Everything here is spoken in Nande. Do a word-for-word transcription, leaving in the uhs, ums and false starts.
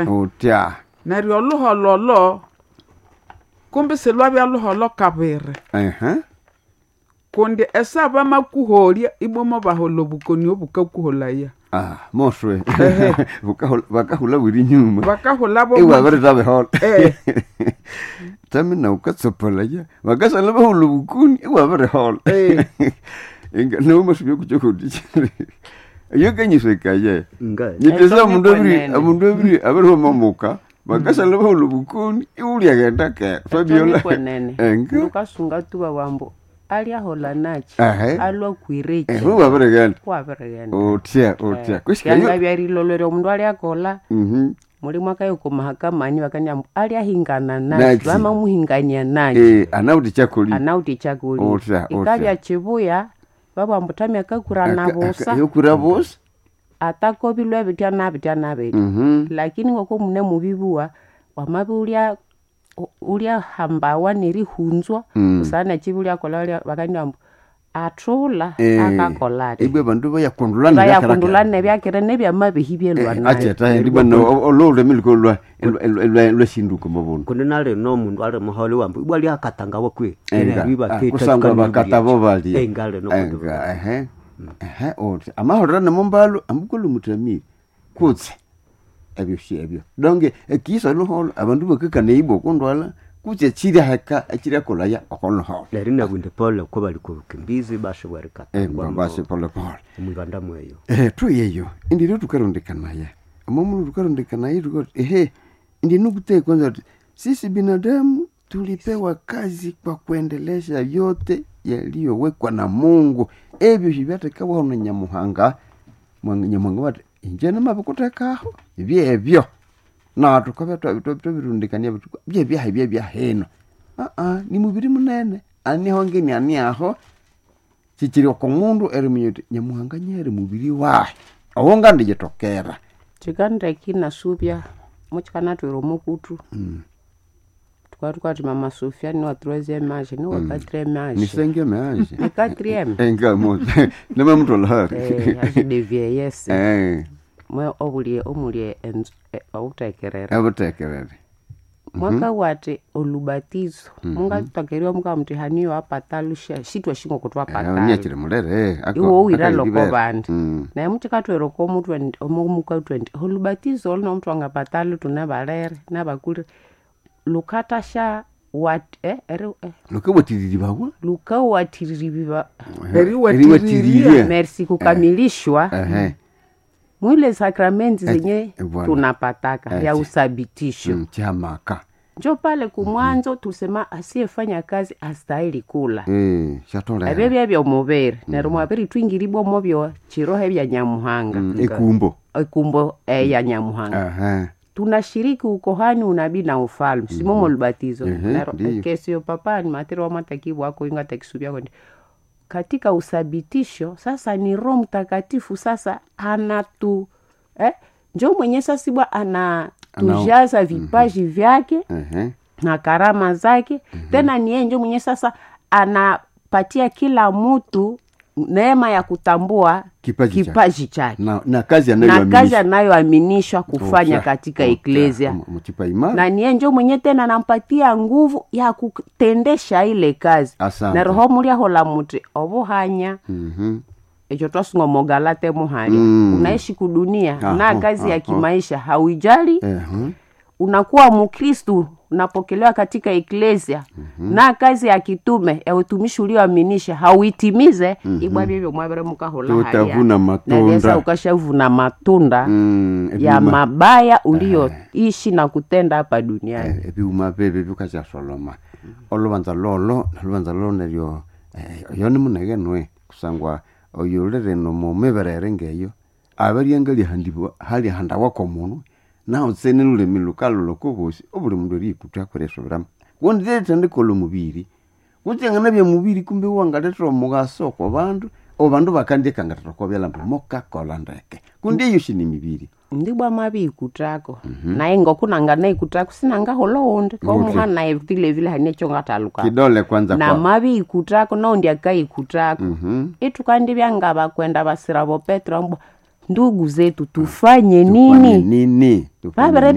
Utya. Neryo oluholo olo kumbi silwabya luholo kabiri Ehe. kundi esa bamakuholya ibwamo bahola obukoni obukakuholaya. Ah, moswe. Ehe. Bukahula bakahula buri nyuma. Bakahula bo Iwe abiritabihola. Eh. Tamina ukatsopolaya. Bakasala bahula obukoni iwe abirihola. Eh. Inga nomasubya kuchokuti. Iyo kanyisekaye. Nga Nyiteza Eto omundu abiri nikwenene. omundu abiri abirihoma bakasala bahula obukoni iwulyagenda ke. Fabiola. kwenene Enga. lukasunga tuba wambo aliahola nachi Ehe. alwa kwireki Eh, wabirigenda. wabirigenda Utya, utya. Kushikayo. yanga byarilolere omundu aliakola Mhm. mulimu akayoko mahakamani bakania aliahingana Nachi. nachi vamamuhingania nachi Eh, anauti chakuli. anauti chakuli Utya, utya. ikabya chibuya babwambutamya akakura busa Yokura busa. atakobilwe bitya nabitya nabitya Mhm. lakini ngoko mune mubibuwa wamabi ulya ulya hambawa nerihunzwa Mm. usana chibi ulyakola bakania mbu athula Eh, akakola ati Ibwe bandu bayakundulana bayakundulana nebyakire nebyamabihi byelwa nayo acheta ndi bana olulimi lukolwa lweshinduko mubundu kundi nalino omundu ali muhole wambu ibwa lyakatangawa kwe Enga, ah, kusangwa bakatabo balya enga lino kundi enga ehe ehe oti amahorera nemumbalo ambukolo mutamire kutse ebyo shi ebyo donge ekisa luholo abandu bakakana ibwa okundwala kutse ekiri heka ekiriakolaya okoluholo neryo nabwinde pole ko bali kubukimbizi bashe bwarikatangwa basi pole pole mwibanda mweyo Eh, tuyeyo indiro tukarondekanaya omomulu tukarondekanaya tukati ehe ndi nukutee kwanza ti sisi binadamu tulipewa kazi kwa kuendelesha yote yaliyowekwa na Mungu ebyo shibyathekawaho na Nyamuhanga Mwa- Nyamuhanga wati inje namabikutekaho byebyo na tukabya twabirundikania byebyaha byebyahino aa ni mubiri munene aniho ngeni ani aho chichiri oko mundu eriminya uti nyamuhanga nyeri mubiri wahe owo ngandiyitokera chikandeki nasubya muchikanatwira omukutu tukatuka mama Sofia ni wa troisième âge ni wa quatrième âge nisenge meanje ni quatrième engamo nemamutolahari eh âge de vieillesse eh mwe obulie omulie enzu- eh, obutekerera abutekerere mwaka wati olubatizo mungatutakerwa mukamutihaniyo apatalusha shitwa shingo kutwapatala niachiri mulere iwe uwira loko bandi naye muchikatwera okomutwe omukatwe ndi olubatizo olu nomutu angapatali tune balere nabakulire lukatasha wat eh, eri, eh, lukawatiriri bawa lukawatiriribiwa Eriwatiriria. merci kukamilishwa ehe mwile sakramenti zenye eh, bwana. tunapataka Eh, ya usabitisho Mm, chamaka njo pale kumwanzo tusema asiyefanya kazi astahili kula eh shatolera ebyo byebyomubiri neryo mwabiri twingiribwa mubyo chiroho ebya nyamuhanga Mm, ekumbo ekumbo eya nyamuhanga ehe tunashiriki ukohani unabii na ufalme simomo lubatizo Ehe, Nero, ndiyo. kesio papani matiri wamatakibu inga takisubyako ndi katika usabitisho sasa ni roho mtakatifu sasa anatu eh, njo mwenye sasibwa anatujaza vipaji vyake ehe na karama zake mm-hmm. tena ni yeye njo mwenye sasa anapatia kila mtu neema ya kutambua Kipaji chake. kipaji chake na, na kazi na kazi anayoaminisha anayoaminishwa kufanya katika eklesia mchipa imara na niye njo mwenye tena anampatia nguvu ya kutendesha ile kazi Asante. na roho muliahola muti obuhanya Mhm. ekyo twasunga omogalate muhalya Mm. unaishi kudunia Aho, na kazi ya aho. kimaisha hauijali Ehe. unakuwa mkristu unapokelewa katika eklesia mm-hmm. na kazi ya kitume ya utumishi ulioaminisha hauitimize mm-hmm. ibwa byebyo mwabere mukahola Utavuna matunda. nalesa ukashavuna matunda Mm, ya ebyuma- mabaya ulioishi na kutenda hapa duniani Eh, ebyuma bebe bikasyasoloma olubanza lolo nolubanza lolo neryo eh, oyo nimunege nwe kusangwa oyo ulirino mumiberere ngeyo abarya ngalihandibwa halihandawako munwe naho tsene lulimi lukalula kobosi obuli mundu eriyikutha kwerisubiramo kundi lirithendikola omubiri kutsengana bya mubiri kumbe wangalethera omugaso kwa bandu obandu bakandiekangatira kwa byalamba mukakola ndeke kundi eyo shini mibiri ndibwa mabikutako mm-hmm. naye ngokunanga naikutako sinangahola undi komuha naye vilevile hanecho ngataluka kidole kwanza na kwa mabikutako naundi akaikutako Mhm. itukandibya nga bakwenda basira bo petro ambwa Ndugu zetu, tufanye Tufanye nini? nini? Tufanye Vabirebya